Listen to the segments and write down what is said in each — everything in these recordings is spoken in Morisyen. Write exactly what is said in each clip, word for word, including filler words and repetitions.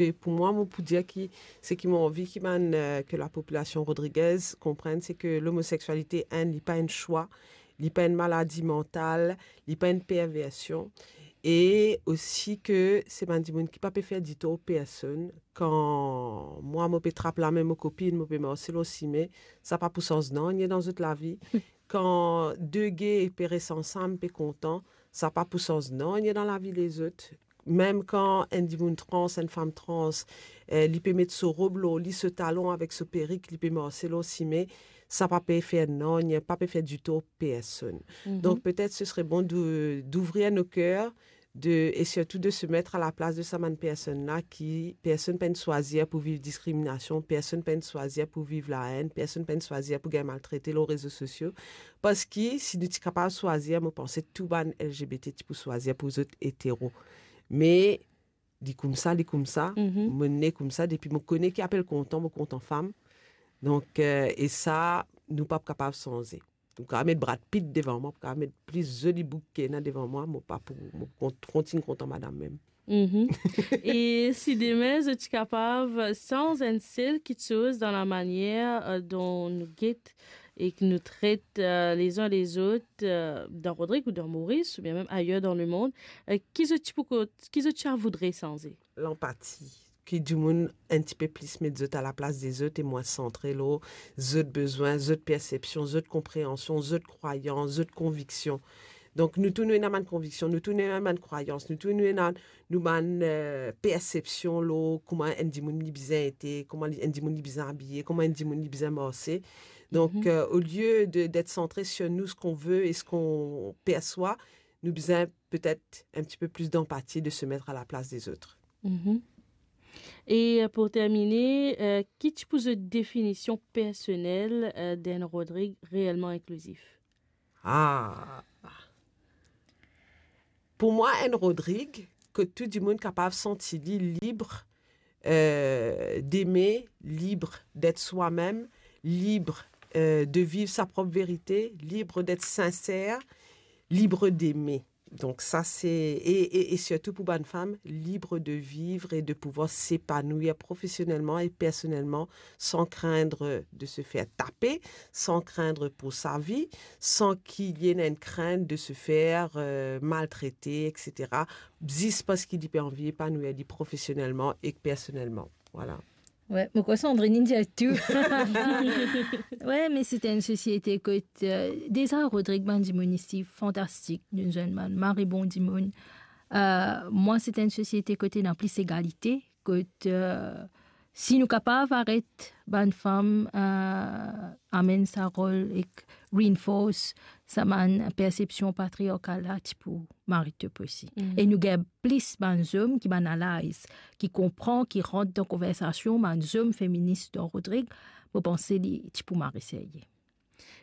E pou mwa, mo pou dir ki seki mo anvi ki bann, eh, ke lapopilasion rodrigez konprann, se ke lomoseksualite, enn, li pa enn swa, li pa enn maladi mantal, li pa enn perversion, e osi ke se bann dimoun ki pa pe fer ditor personn. Kan mwa, mo pe trap lame mo kopinn, mo pe marse lor sime, sa pa pou sanz nanye dan zot lavi. Kan de gay pe res ansam, pe kontan, sa pa pou sanz nanye dan lavi lezot. Mem kan enn dimoun trans, enn fam trans, eh, li pe met so rob lor li, so talon avek so perik, li pe marse lor sime, sa pa pe fer nanye, pa pe fer ditor personn. Mhm. Donk, petet se sere bon de, d'ouvrir nos cœurs, de, e sirtou de se met a la plas de sa bann personn la ki, personn pa'nn swazir pou viv diskriminasion, personn pa'nn swazir pou viv laenn, personn pa'nn swazir pou gagn maltrete lor rezo sosio. Parski si nou ti kapav swazir, mo panse tou bann L G B T ti pou swazir pou zot etero. Me li koumsa, li koumsa, mhm, mo ne koumsa, depi mo kone ki apel kontan, mo kontan fam. Donk, eh, e sa, nou pa kapav sanze. Ou kapav met Brad Pitt devan mwa, ou kapav met pli zoli boug ki ena devan mwa, mo pa pou, mo pou kont-, kontign kontan madam mem. Mhm. E si demin zot ti kapav sanz enn sel kitsoz dan lamanier, eh, dont nou get e ki nou tret, eh, lezin lezot, eh, dan Rodrig ou dan Moris, oubien mem ayer dan lemond, eh, ki zot ti pou ko-, ki zot ti a voudre sanze? Lanpati. Ki dimoun enn tipe plis met zot a laplas dezot e mwin santre lor zot bezwin, zot persepsion, zot konpreansion, zot krwayans, zot konviksion. Donk, nou tou nou ena bann konviksion, nou tou nou ena bann krwayans, nou tou nou ena nou bann, eh, persepsion lor kouma enn dimoun li bizin ete, kouma li, enn dimoun li bizin abiye, kouma enn dimoun li bizin marse. Donk, mhm, eh, olie de, d'être centré sur nous, ce qu'on veut et ce qu'on perçoit, nou bizin petet enn tipe plis d'empathie, de se mettre à la place des autres. Mhm. E, eh, pou termine, eh, ki ti pou zot definision personel, eh, d'enn Rodrig reelman inklizif? Ah! Pou mwa, enn Rodrig, kot tou dimoun kapav santi li lib, eh, d'aimer, lib d'être soi-même, lib, eh, de viv sa prop verite, lib d'être sincère, lib d'aimer. Donk sa se, e, e, e sirtou pou bann fam, lib de viv e de pouvwar sepanwir profesionelman e personelman san krinn de se fer tape, san krinn pou sa vi, san ki li ena enn krint de se fer, eh, maltrete, et cetera, zis parski li pe anvi epanwir li profesionelman ek personelman. Vwala. Wi, mo krwar Sandrine inn dir tou. Wi, me se enn sosiete kot, eh, deza Rodrig bann dimoun isi fantastik, nou zwenn bann mari bon dimoun. Eh, mwa, se enn sosiete kot ena plis egalite, kot, eh, si nou kapav aret bann fam, eh, amenn sa rol ek reinforce sa bann persepsion patriarkal la, ti pou mari top osi. Mhm. E nou gagn plis bann zom ki bann allies, ki konpran, ki rant dan konversasion, bann zom feminis dan Rodrig, mo panse li ti pou mari serye.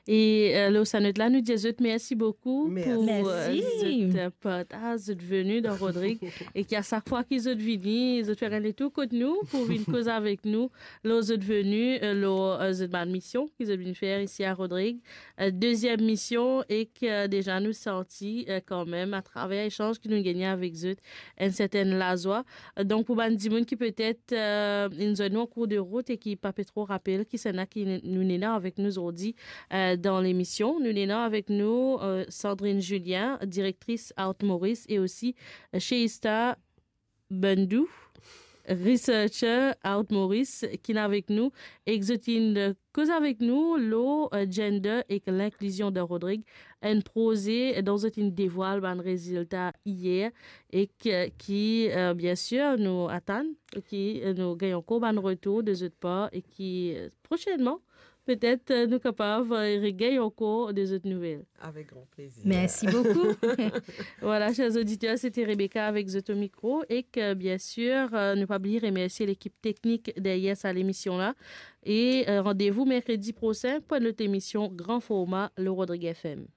E, eh, lor sa not la, nou dir zot mersi boukou pou, eh, zot, eh, partaz, zot veni dan Rodrig. E ki a sak fwa ki zot vini, zot fer enn letour kot nou pou vinn koz avek nou lor zot veni, eh, lor, eh, zot bann mision ki zot vinn fer isi a Rodrig. Eh, deziem mision, e ki, eh, deza nou santi, eh, kanmem, atraver esanz ki nou gagne avek zot, enn sertenn lazwa. Eh, donk, pou bann dimoun ki petet, eh, inn zwenn nou an kour de rout e ki pa pe tro rapel kisannla ki n-, nou ena avek nou zordi, eh, dan lemision, nou ena avek nou, eh, Sandrine Julien, direktris Art Maurice, e osi, eh, Sheista Bandou, researcher Art Maurice, ki ena avek nou, ek zot inn, eh, koz avek nou lor, eh, gender ek linklizion dan Rodrig, enn proze dont zot inn devwal bann rezilta iyer, ek ki, eh, biensir, nou atann, ki, eh, nou gagn ankor bann retour de zot par, e ki, eh, prosenman, petet, eh, nou kapav, eh, regagn ankor de zot nouvel. Avek gran plezir. Mersi boukou. Vwala, ser oditer, se te Rebecca avek zot o mikro, ek, eh, biensir, eh, nou pa bliye remersie lekip teknik deryer sa lemision la. E, eh, randevou merkredi prosin pou enn lot emision Gran Forma lor Rodrig F M.